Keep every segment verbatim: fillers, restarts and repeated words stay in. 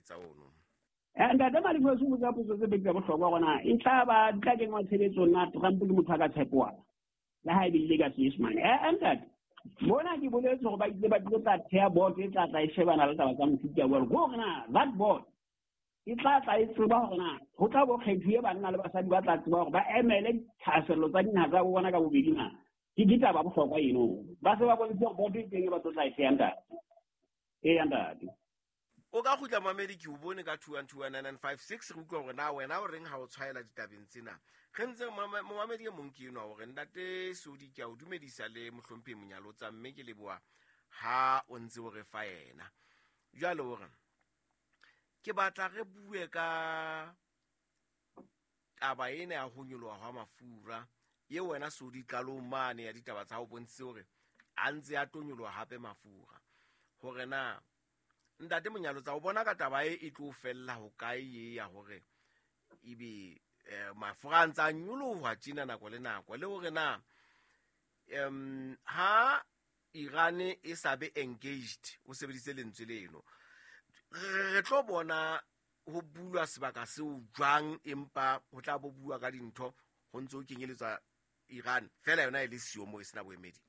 molaetsa ono. Ntate Malefuwa o botsa potso tse pedi tsa bohlokwa gona e tla ba di tla kenngwa tshebetsong na Trump ke motho a ka tshepoang le ha e bile ka Senyesemane. Eh ntate, mona ke boletse hore ba ile ba tlo tla theha board e tla tla e shebana le taba tsa mofuta wa hore na that board e tla tla e tseba hore na ho tla bo kgethuwe banna le basadi ba tla tseba hore ba emele dithahasello tsa dinaha tsa bona ka bobedi na. Ke ditaba bohlokwa eno. Ba se ba bontshitse hore board e teng e ba tlo tla e theha ntate. Eya ntate. O ka kgutla mamedi ke o bone ka two one two one nine nine five six re utlwa hore na wena o reng ha o tshwaela ditabeng tsena. Re ntse momamedi e mong ke enwa hore ntate Sodi ke a o dumedisa le mohlomphehi Monyalotsa mme ke leboha ha o ntse o re fa yena. Jwale hore ke batla re bue ka taba ena ya ho nyoloha hwa mafura ye wena Sodi qalong mane ya ditaba tsa hao bontshitse hore a ntse a tlo nyoloha hape mafura. Hore na ntate Monyalotsa o bona ka taba e e tlo fella ho kae ye ya hore ebe mafura a ntse a nyoloha tjena nako le nako, le hore na um ha Iran e sa be engaged o sebedise lentswe leno re tlo bona ho bulwa sebaka seo jwang, empa ho tla bo bua ka dintho ho ntse ho kenyeletswa Iran fela yona e le siyo mo e sena boemedi.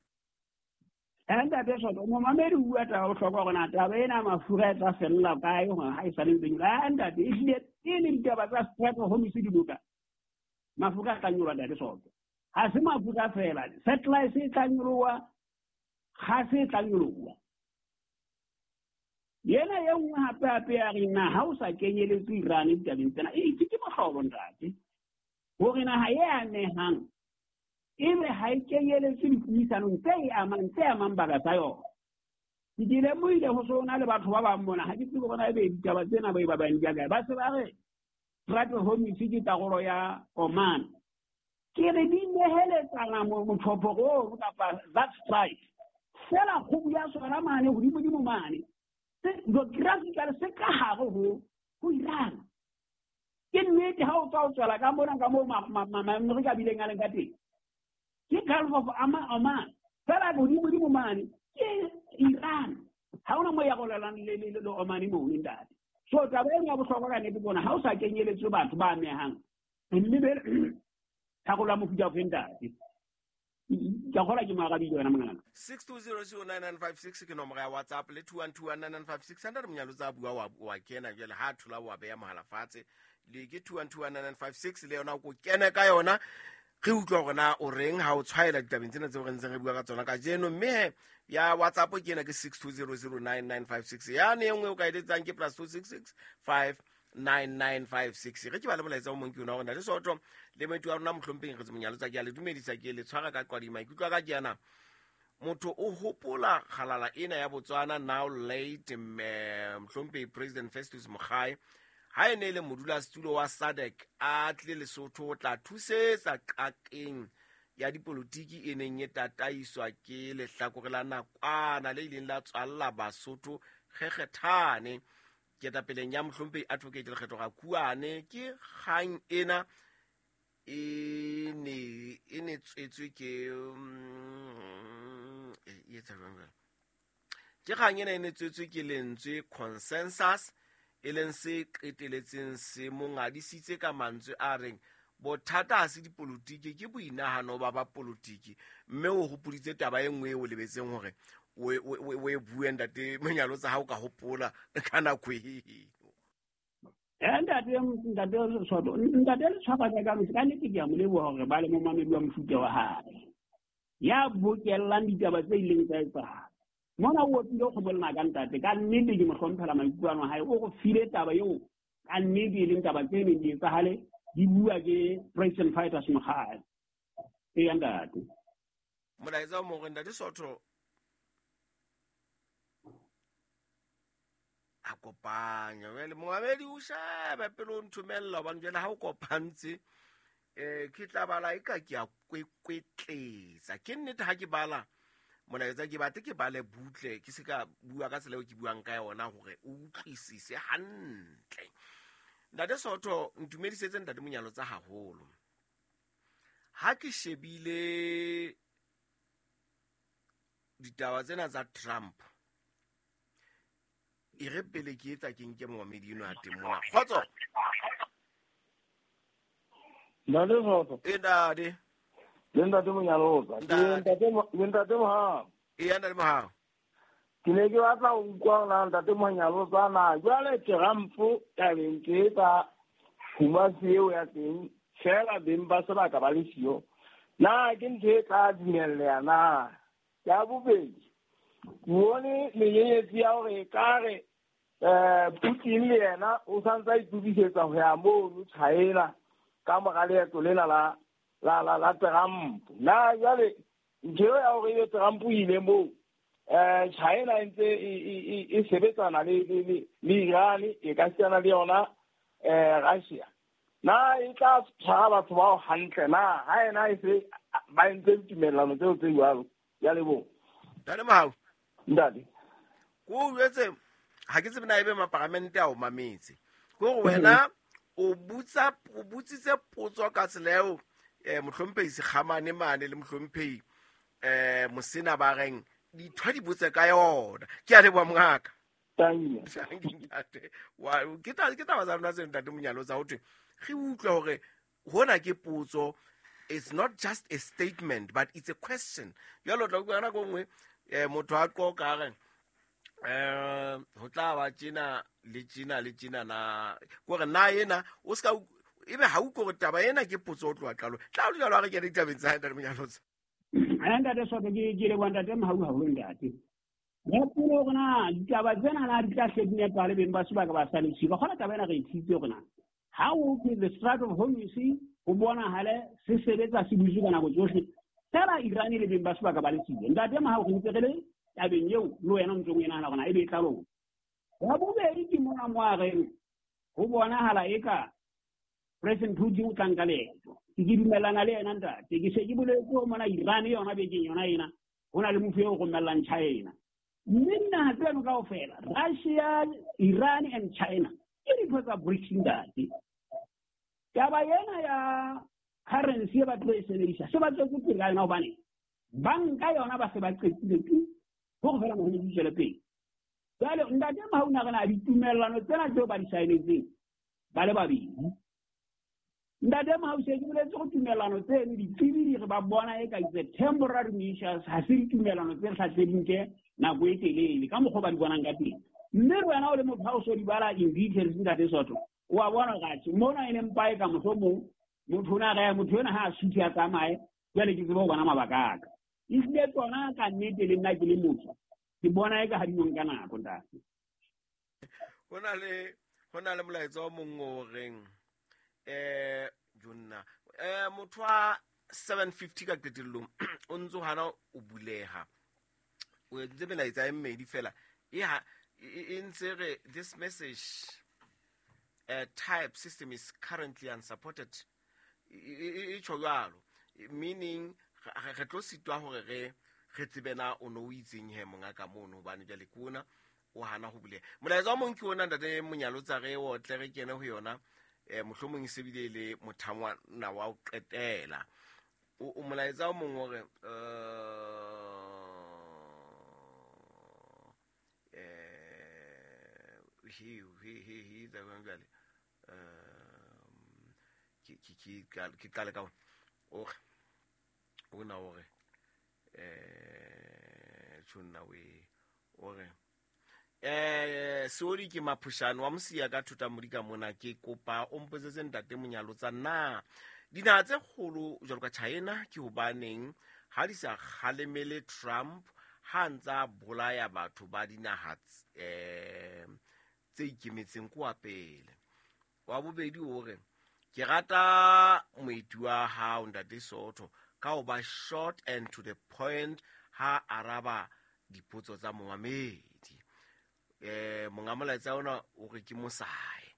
Ntate Soto, momamedi o bua taba bohlokwa hore na taba ena mafura e tla fella kae hore ha e sa le ntse nyoloha. Ntate, ehlile pele ditaba tsa Strait of Hormuz di loka, mafura a tla nyoloha ntate Soto. Ha se mafura fela, satellite e tla nyoloha, gase e tla nyoloha. Yena e nngwe hape hape ya re na ha o sa kenyeletse Iran ditabeng tsena, e itse ke mohlolo ntate. Hore naha e amehang ebe ha e kenyeletse dipuisanong tse e amang tse amang baka tsa yona. Ke ke lemohile ho so na le batho ba bang mona, ha ke tsebe hore na ebe ditaba tsena ba e ba bang di kae. Ba se ba re Strait of Hormuz ke karolo ya Oman. Ke re di neheletsana mothopo oo kapa that strike. Fela kgubu ya sona mane hodimodimo mane. Geographical se ka hare ho ho Iran. Ke nnete ha o tswa o tswela ka mona ka moo Maamerika bileng a leng ka teng. Ke Gulf of Oman. Fela hodimodimo mane ke Iran. Ha hona moo ya rolelang le le le Oman moo ntate. So taba ena ya bohlokwa ka nnete bona ha o sa kenyeletswe batho ba amehang. Mme be tharollo ya mofuta ofe ntate. Ke kgola ke moarabile wena mongaka. six two zero zero nine nine five six ke nomoro ya WhatsApp le two one two one nine nine five six. Ntate Monyalotsa a bua wa wa kena jwale ha thola wa beya mohala fatshe le ke two one two one nine nine five six le yona o ko kene ka yona. Re utlwa hore na o reng ha o tshwaela ditabeng tsena tseo re ntseng re bua ka tsona kajeno. Mme ya WhatsApp ke ena ke six two zero zero nine nine five six. Yane e nngwe o ka eletsang ke plus two six six five nine nine five six. Re ke ba le molaetsa o mong ke yona hore ntate Soto le moeti wa rona mohlomphehi Nkgetse Monyalotsa ke a le dumedisa, ke le tshwara ka qwadima. Maikutlo a ka ke ana, motho o hopola kgalala ena ya Botswana now late mohlomphehi President Festus Mogae ha e ne le modulasetulo wa SADC a tlile Lesotho ho tla thusetsa qakeng ya dipolotiki e neng e tataiswa ke lehlakore la nakwana le ileng la tswalla Basotho kgekgethane ketapeleng ya mohlomphehi Advocate Lekgetho Rakuane. Ke kgang ena e ne e ne tswetswe ke e etsa jwang jwale? Ke kgang ena e ne tswetswe ke lentswe consensus e leng se qeteletseng se mongadisitse ka mantswe a reng bothata ha se dipolotiki ke boinahano ba ba polotiki. Mme o hopoditse taba e nngwe e o lebetseng hore o o e bue ntate Monyalotsa ha o ka hopola ka nako eo. Ntate ntate Soto, ntate le tshwara ka ka nnete ke a mo leboha hore ba le momamedi wa mofuta wa hae ya bokellang ditaba tse ileng tsa etsahala. Mona o opile kgomo lenaka ntate, ka nnete ke mo hlomphela maikutlo a hae, o go file taba eo ka nnete e leng taba tse neng di etsahale di bua ke President Fighters Mogae. Eya ntate. Molaetsa o mong ntate Soto a kopanya jwale momamedi o shebe pele o nthomella hobane jwale ha o kopantse eh ke tla bala e ka ke a kwekwetletsa. Ke nnete ha ke bala molaetsa ke batle ke bale butle ke se ka bua ka tsela eo ke buang ka yona hore o utlwisise hantle. Ntate Soto ntumedisetse ntate Monyalotsa haholo. Ha ke shebile ditaba tsena tsa Trump E re pele ke etsa ke nke momamedi eno a teng mona. Kgotso. Ntate Soto. E ntate. Le ntate Monyalotsa. Ke ntate le ntate Mohau. E ya ntate Mohau. Ke ne ke batla ho utlwa na ntate Monyalotsa na jwale Trump tabeng ke tsa Kumasi eo ya teng fela beng ba sebaka ba le siyo. Na ke ntho e tla dumelleha na? Ya bobedi, ke bone menyenyetsi ya hore ekare eh Putin le yena o santse a itokisetsa ho ya mono China ka mora leeto lena la la la la Trump. Na jwale ntho eo ya hore ebe Trump o ile moo eh China e ntse e e sebetsana le le le Iran e ka sitana le yona eh Russia. Na e tla tshwara batho bao hantle na ha ena e se ba entse ditumellano tseo tse jwalo. Ya leboha. Ntate Mohau. Ntate. Ko jwetse ha ke tsebe na ebe maparamente a o mametse. Ke hore wena o butsa o butsitse potso ka tsela eo eh mohlomphehi Sekgamane mane le mohlomphehi eh Mosena ba reng dithwa di botse ka yona. Ke a leboha mongaka. Thank you. Ntate. Wa ke taba ke taba tsa rona tse ntate Monyalotsa ho thwe re utlwe hore hona ke potso. It's not just a statement but it's a question. Jwale o tla utlwa ka nako e nngwe eh motho a qoqa a re eh ho tla ba tjena le tjena le tjena na kore na ena o ska ebe ha utlwe hore taba ena ke potso o tloha qalong. Tla o jwalo ha re kene ditabeng tsa ntate Monyalotsa. Ha ntate Soto ke ke leboha ntate Mohau haholo ntate. Ya pele hore na ditaba tsena na di tla hle di nepahale beng ba sebaka ba sa le siyo. Kgona taba ena re e tshitse hore na ha o ke the Strait of Hormuz ho bonahale se sebetsa se butswe ka nako tsohle fela Iran le beng ba sebaka ba le siyo. Ntate Mohau re ntse re le tabeng eo le wena o ntsong o e nahana hore na ebe e tla loka. Ya bobedi ke mona mo a reng ho bonahala eka President Putin o tla nka leeto. Ke ke dumellana le yena ntate. Ke se ke boletse hore mona Iran yona bekeng yona ena ho na le motho eo romellang China. Mme dinaha tseno kaofela Russia, Iran and China ke dintho tsa BRICS ntate. Taba ena ya currency e ba tlo e sebedisa se ba tswetse pele ka yona hobane banka yona ba se ba qetile tu hore fela moholo di tswele pele. Jwale ntate Mohau na re na ditumellano tsena tseo ba di saenetseng ba le babedi. Ntate Mohau se ke boletse go tumellano tseno ditsebi di re ba bona e ka it's a temporary measures, ha se ditumellano tse hlahleng ke nako e telele ka mokgwa ba di bonang ka teng. Mme re wena o le motho ha o so di bala in details ntate Soto o a bona hore mona e ne mpa e ka mohlomong motho ona re motho ena ha a suthe a tsamaye jwale ke tsebe ho bona mabaka a ka. Ehlile tsona ka nnete le nna ke le motho ke bona eka ha di nka nako ntate. Ho na le ho na le molaetsa o mong o reng eh jonna eh motho wa seven fifty ka qetellong o ntso hana o buleha. O entse melaetsa e mmedi fela e ha e ntse re this message uh, type system is currently unsupported. E tjho jwalo meaning re tlo sitwa hore re re tsebe na o no o itseng he monga ka mono hobane jwale ke ona o hana ho buleha. Molaetsa o mong ke ona ntate Monyalotsa re o tle re kene ho yona eh mohlomong e sebile le mothangwana wa o qetela. O molaetsa o mong hore eh he he he he da jwale um ke ke ke ke qale ka o ona hore eh tjhonna we ore eh sorry ke Maphushane wa Mosia ka thuta modika mona ke kopa o mpotsetse ntate Monyalotsa na dinaha tse kgolo jwalo ka China ke hobaneng ha di sa kgalemele Trump ha ntsa bolaya batho ba dinaha eh tse ikemetseng kwa pele. Wa bobedi hore ke rata moeti wa hao ntate Soto ka ho ba short and to the point ha araba dipotso tsa momamedi. Eh monga molaetsa ona o re ke Mosae.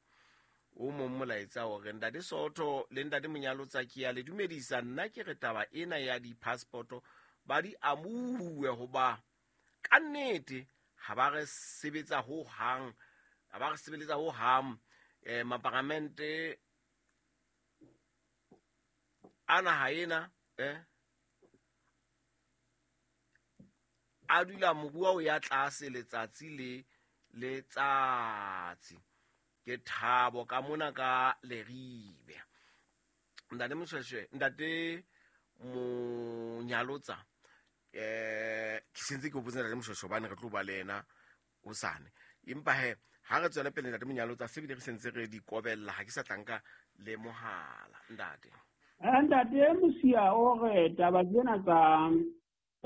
O mong molaetsa o re ntate Soto le ntate Monyalotsa ke ya le dumedisa nna ke re taba ena ya di-passport ba di amuwe hoba ka nnete ha ba re sebetsa ho hang ha ba re sebeletsa ho hang eh maparamente ana ha ena eh a dula moruo o ya tlase letsatsi le letsatsi. Ke thabo ka mona ka Leribe. Ntate Moshweshwe, ntate Monyalotsa, eh ke sentse ke o botsa ntate Moshweshwe hobane re tlo ba le yena hosane. Empa he ha re tswela pele ntate Monyalotsa se bile re sentse re di kobella, ha ke sa tlanka le mohala ntate. Ntate Mosia o re taba tsena tsa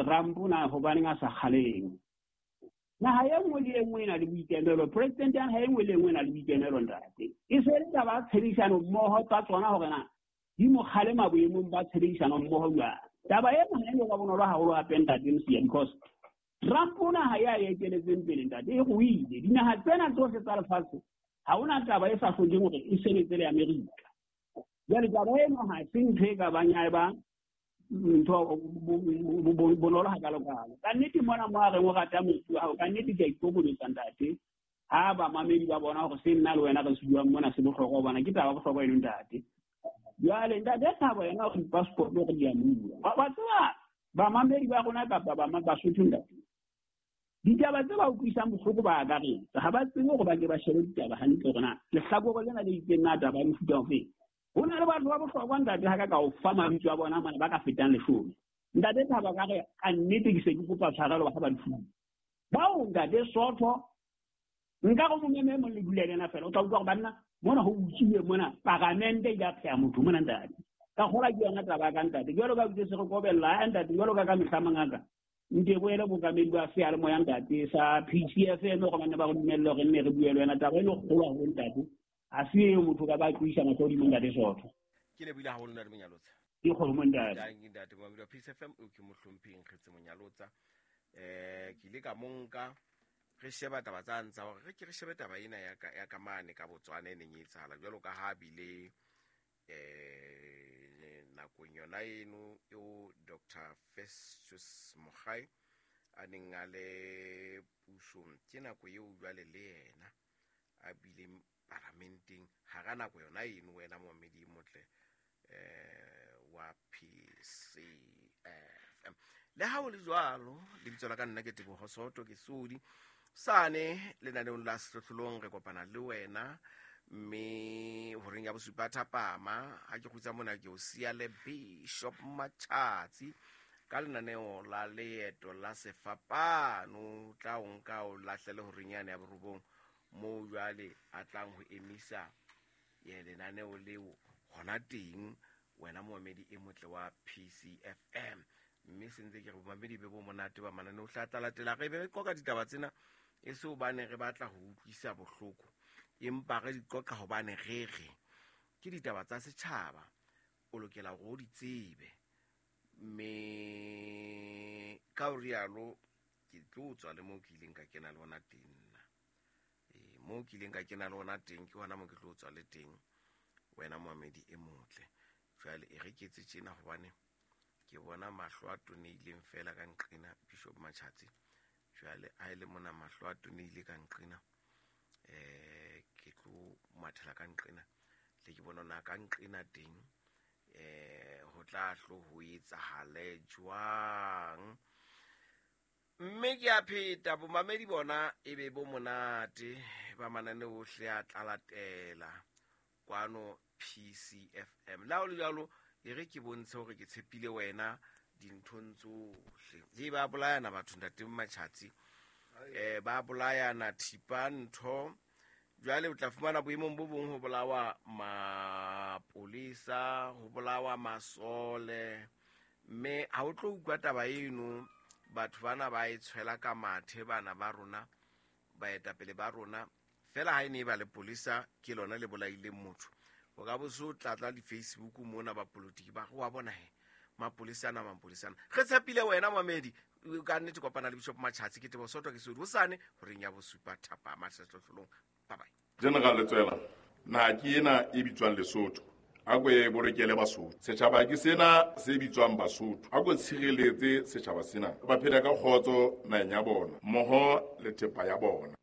Trump na hobaneng a sa kgaleng. Naha e nngwe le e nngwe e na le boikemelo, president ya naha e nngwe le e nngwe e na le boikemelo ntate. E se le taba ya tshebedisano mmoho tsa tsona hore na di mo kgalema boemong ba tshebedisano mmoho jwang. Taba ena ha e no ba bonolo haholo hape ntate Mosia, because Trump naha ya e eteletseng pele ntate e ruile. Dinaha tsena tsohle tsa lefatshe ha hona taba e sa hlokeng hore e sebetse le Amerika. Jwale taba eno ha se ntho e ka bang ya eba ntho bonolo hakalokalo. Ka nnete mona mo a reng o rata motho wa hao, ka nnete ke a ikokobetsa ntate. Ha bamamedi ba bona hore se nna le wena re se buang mona se bohlokwa, hobane ke taba bohlokwa eno ntate. Jwale ntate Thabo yena o re passport re di a bua. Wa tseba bamamedi ba rona kapa ba Basotho ntate, ditaba tse ba utlwisang bohloko ba akaretsa, ha ba tsebe hore ba ke ba shebe ditaba hantle hore na lehlakore lena le itseng na taba ya mofuta ofe. Ho na le batho ba bohlokwa ntate ha ka ka o fa mabitso a bona mane ba ka fetang leshome. Ntate Thabo ka re ka nnete ke se ke kopa tshwarelo ba ba difuwe. Bao ntate Sotho nka go mongwe e mong le dula le yena fela o tla utlwa gore banna mona ho utswiwe mona paramente e ka pheha motho mona ntate. Ka gola ke yona taba ka ntate. Jwalo ka utse se re kobella ntate, jwalo ka ka mehla mangaka. Nte boele bokamedi ba seyalemoya ntate sa P C F M gore banne ba go dumelle hore nne re bue le wena taba e le kgolo haholo ntate. A se eo motho ka ba tloisa mahlo hodimo ntate Sotho. Ke lebohile haholo ntate Monyalotsa. Ke kgolo ntate. Tanki ntate Momamedi wa P C F M o ke mohlompheng Kgetse Monyalotsa. Eh ke ile ka monka re sheba taba tsa ntsa hore re ke re shebe taba ena ya ka ya ka mane ka Botswana e neng e etsahala jwalo ka ha bile eh nakong yona eno eo Doctor Festus Mogae a neng a le pusong, ke nako eo jwale le yena a bileng parlamenteng hara nako yona eno wena momamedi motle eh wa P C F M. Le ha o le jwalo lebitso la ka nna ke Teboho Soto ke Sodi sane lenaneong la Sehlohlolong re kopana le wena mme horeng ya bosupa thapama ha ke kgutsa mona ke o siya le Bishop Machatsi ka lenaneo la leeto la sefapano tla o nka o lahlele horeng yane ya borobong mo jwale a tlang ho emisa ye lenaneo leo hona teng wena momamedi e motle wa P C F M. Mme sentse ke re bomamedi be bo monate ba mananeo hla tla latela re be re qoqa ditaba tsena e se hobane re batla ho utlwisa bohloko, empa re di qoqa hobane re re ke ditaba tsa setjhaba, o lokela hore o di tsebe. Mme ka ho rialo ke tlo tswa le moo ke ileng ka kena le hona teng nna. Eh moo ke ileng ka kena le hona teng ke hona moo ke tlo tswa le teng wena momamedi e motle. Jwale e re ke etse tjena hobane ke bona mahlo a toneileng fela ka nqena Bishop Machatsi. Jwale a ile mona mahlo a toneile ka nqena eh ke tlo mathela ka nqena le ke bona na ka nqena teng eh ho tla hlo ho etsahale jwang. Mme ke a pheta bomamedi bona e be bo monate ba manane ohle a tla latela kwano P C F M. La o le jwalo e re ke bontshe hore ke tshepile wena dinthong tsohle. E ba bolayana batho ntate Machatsi, eh ba bolayana thipa ntho. Jwale o tla fumana boemong bo bong ho bolawa mapolisa, ho bolawa masole, mme ha o tlo utlwa taba eno batho bana ba e tshwela ka mathe bana ba rona baetapele ba rona fela ha e ne ba le polisa ke lona le bolaileng motho. O ka bo so tlatla di Facebook mona ba politiki ba wa bona he mapolisa ana mapolisa ana. Re tshepile wena mamedi ka nnete kopana le Bishop Machatsi ke Teboho Soto ke Sodi hosane horeng ya bosupa thapama Sehlohlolong. Bye bye. General Letswela, naha ke ena e bitswang Lesotho. A ko e bolokele Basotho. Setjhaba ke sena se bitswang Basotho. A ko tshireletse setjhaba sena. Ba phela ka kgotso naheng ya bona, mmoho le thepa ya bona.